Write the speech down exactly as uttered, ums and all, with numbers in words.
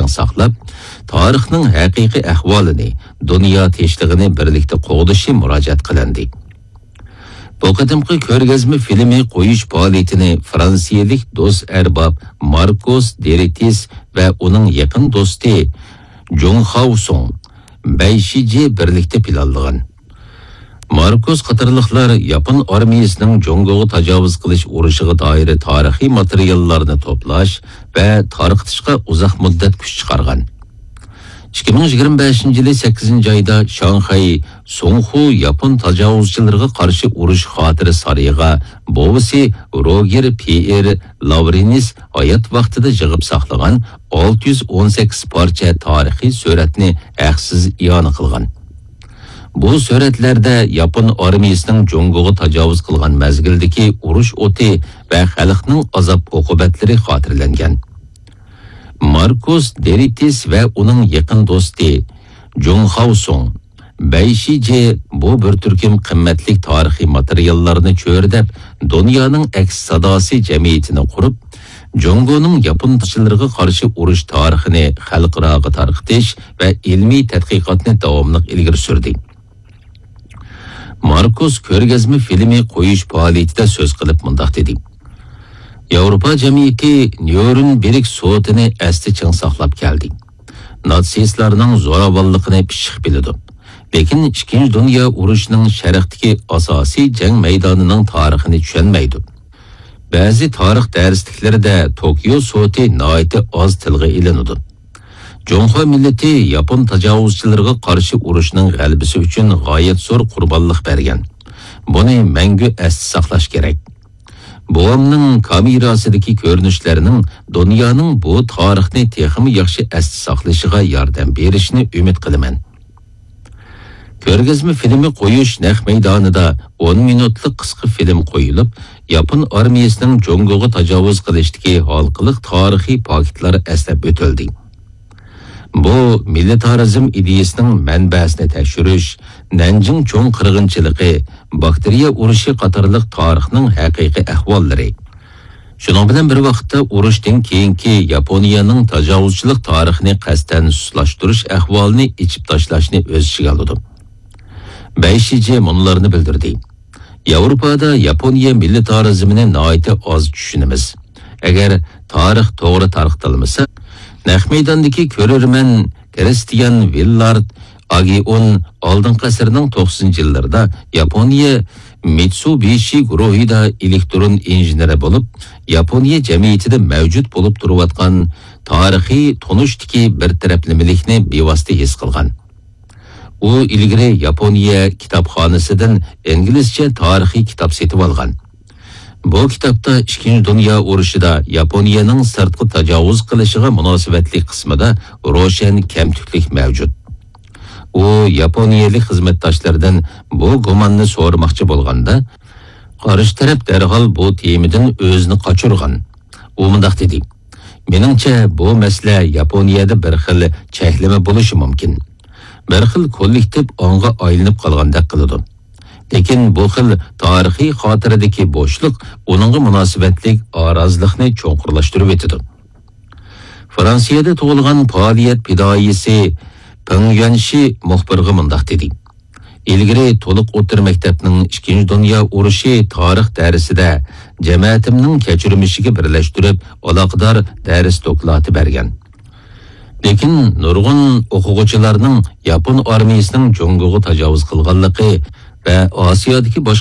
ساقلاپ، تارىخنىڭ ھەقىقىي ئەھۋالىنى، دۇنيا تىنچلىقىنى بىرلىكتە قوغدىشى مۇراجىئەت قىلىندى. بۇ قېتىمقى كۆرگەزمە فىلىمى قويۇش پائالىيىتىنى فرانسىيەلىك دوست ئەرباب ماركوس دېرىتىس ۋە ئۇنىڭ يېقىن دوستى جۇڭ خاۋسۇڭ، بەي شىجې بىرلىكتە پىلانلىغان. ماركوس قاتارلىقلار ياپون ئارمىيىسىنىڭ جۇڭگوغا تاجاۋۇز قىلىش ئۇرۇشىغا دائىر تارىخىي ماتېرىياللارنى توپلاش ۋە تارقىتىشقا ئۇزاق مۇددەت كۈچ چىقارغان. ئىككى مىڭ يىگىرمە بەشىنچى يىلى سەككىزىنچى ئايدا شاڭخەي سۇڭخۇ ياپون تاجاۋۇزچىلىرىغا قارشى ئۇرۇش خاتىرە سارىيىغا بوۋىسى روگېر پيېر لاۋرېنس ھايات ۋاقتىدا يىغىپ ساقلىغان ئالتە يۈز ئون سەككىز پارچە تارىخىي سۈرەتنى ھەقسىز ئىئانە قىلغان. بۇ سۈرەتلەردە ياپون ئارمىيىسىنىڭ جۇڭگوغا تاجاۋۇز قىلغان مەزگىلدىكى ئۇرۇش ئوتى ۋە خەلقنىڭ ئازاب-ئوقۇبەتلىرى خاتىرىلەنگەن. ماركوس دېرىتىس ۋە ئۇنىڭ يېقىن دوستى جۇڭ خاۋسۇڭ، بەي شىجې بۇ بىر تۈركۈم قىممەتلىك تارىخىي ماتېرىياللارنى چۆرىدەپ، دۇنيانىڭ ئەكس ساداسى جەمئىيىتىنى قۇرۇپ، جۇڭگونىڭ ياپون تاشچىلىرىغا قارشى ئۇرۇش تارىخىنى خەلقئاراغا تارقىتىش ۋە ئىلمىي تەتقىقاتنى داۋاملىق ئىلگىرى سۈردى. ماركوس كۆرگەزمە فىلىمى قويۇش پائالىيىتىدە سۆز قىلىپ مۇنداق دېدى: ياۋروپا جەمئىيىتى نيۇرنبېرگ سوتىنى ئەستە چىڭ ساقلاپ كەلدى. ناتسىستلارنىڭ زوراۋانلىقىنى پىششىق بىلىدۇ. لېكىن ئىككىنچى دۇنيا ئۇرۇشىنىڭ شەرقتىكى ئاساسىي جەڭ مەيدانىنىڭ تارىخىنى چۈشەنمەيدۇ. بەزى تارىخ دەرسلىكلىرىدە توكيو سوتى ناھايىتى ئاز تىلغا ئېلىنىدۇ. جۇڭخۇا مىللىتى ياپون تاجاۋۇزچىلىرىغا قارشى ئۇرۇشنىڭ غەلىبىسى ئۈچۈن غايەت زور قۇربانلىق بەرگەن. بۇنى مەڭگۈ ئەستە ساقلاش كېرەك. بوۋامنىڭ كامېراسىدىكى كۆرۈنۈشلەرنىڭ دۇنيانىڭ بۇ تارىخنى تېخىمۇ ياخشى ئەستە ساقلىشىغا ياردەم بېرىشىنى ئۈمىد قىلىمەن. كۆرگەزمە فىلىمى قويۇش نەق مەيدانىدا ئون مىنۇتلۇق قىسقا فىلىم قويۇلۇپ، ياپون ئارمىيىسىنىڭ جۇڭگوغا تاجاۋۇز قىلىشتىكى ھالقىلىق تارىخىي پاكىتلار ئەسلەپ ئۆتۈلدى. بۇ مىلىتارىزم ئىدىيىسىنىڭ مەنبەسىنى تەكشۈرۈش، نەنجىڭ چوڭ قىرغىنچىلىقى، باكتېرىيە ئۇرۇشى قاتارلىق تارىخنىڭ ھەقىقىي ئەھۋاللىرى. شۇنىڭ بىلەن بىر ۋاقىتتا، ئۇرۇشتىن كېيىنكى ياپونىيەنىڭ تاجاۋۇزچىلىق تارىخىنى قەستەن سۇسلاشتۇرۇش ئەھۋالىنى ئېچىپ تاشلاشنى ئۆز ئىچىگە ئالىدۇ. بەي شىجې مۇنۇلارنى بىلدۈردى: ياۋروپادا ياپونىيە مىلىتارىزمىنى ناھايىتى ئاز چۈشىنىمىز. ئەگەر تارىخ توغرا تارقىتىلمىسا، نەق مەيداندىكى كۆرۈرمەن كرىستىيان ۋىللارد ئاگېئون ئالدىنقى ئەسىرنىڭ توقسىنىنچى يىللىرىدا ياپونىيە مىتسۇبىشى گۇرۇھىدا ئېلېكترون ئىنژېنېرى بولۇپ، ياپونىيە جەمئىيىتىدە مەۋجۇت بولۇپ تۇرۇۋاتقان تارىخىي تونۇشتىكى بىر تەرەپلىمىلىكنى بىۋاسىتە ھېس قىلغان. ئۇ ئىلگىرى ياپونىيە كىتابخانىسىدىن ئىنگلىزچە تارىخىي كىتاب سېتىۋالغان. بۇ كىتابتا ئىككىنچى دۇنيا ئۇرۇشىدا ياپونىيەنىڭ سىرتقا تاجاۋۇز قىلىشىغا مۇناسىۋەتلىك قىسمىدا روشەن كەمتۈكلۈك مەۋجۇت. ئۇ ياپونىيەلىك خىزمەتداشلىرىدىن بۇ گۇماننى سورىماقچى بولغاندا، قارشى تەرەپ دەرھال بۇ تېمىدىن ئۆزىنى قاچۇرغان. ئۇ مۇنداق دېدى: مېنىڭچە، بۇ مەسىلە ياپونىيەدە بىر خىل چەكلىمە بولۇشى مۇمكىن. بىر خىل كوللېكتىپ ئاڭغا ئايلىنىپ قالغاندەك قىلىدۇ. لېكىن بۇ خىل تارىخىي خاتىرىدىكى بوشلۇق ئۇنىڭغا مۇناسىۋەتلىك ئارازلىقنى چوڭقۇرلاشتۇرۇۋېتىدۇ. فرانسىيەدە تۇغۇلغان پائالىيەت پىدائىيسى پېڭ يۈەنشى مۇخبىرغا مۇنداق دېدى: ئىلگىرى تولۇق ئوتتۇرا مەكتەپنىڭ ئىككىنچى دۇنيا ئۇرۇشى تارىخ دەرسىدە جەمەتىمنىڭ كەچۈرمىشىگە بىرلەشتۈرۈپ ئالاقىدار دەرس دوكلاتى بەرگەن. لېكىن نۇرغۇن ئوقۇغۇچىلارنىڭ ياپون ئارمىيىسىنىڭ جۇڭگوغا تاجاۋۇز قىلغانلىقى ۋە ئاسىيادىكى باشقا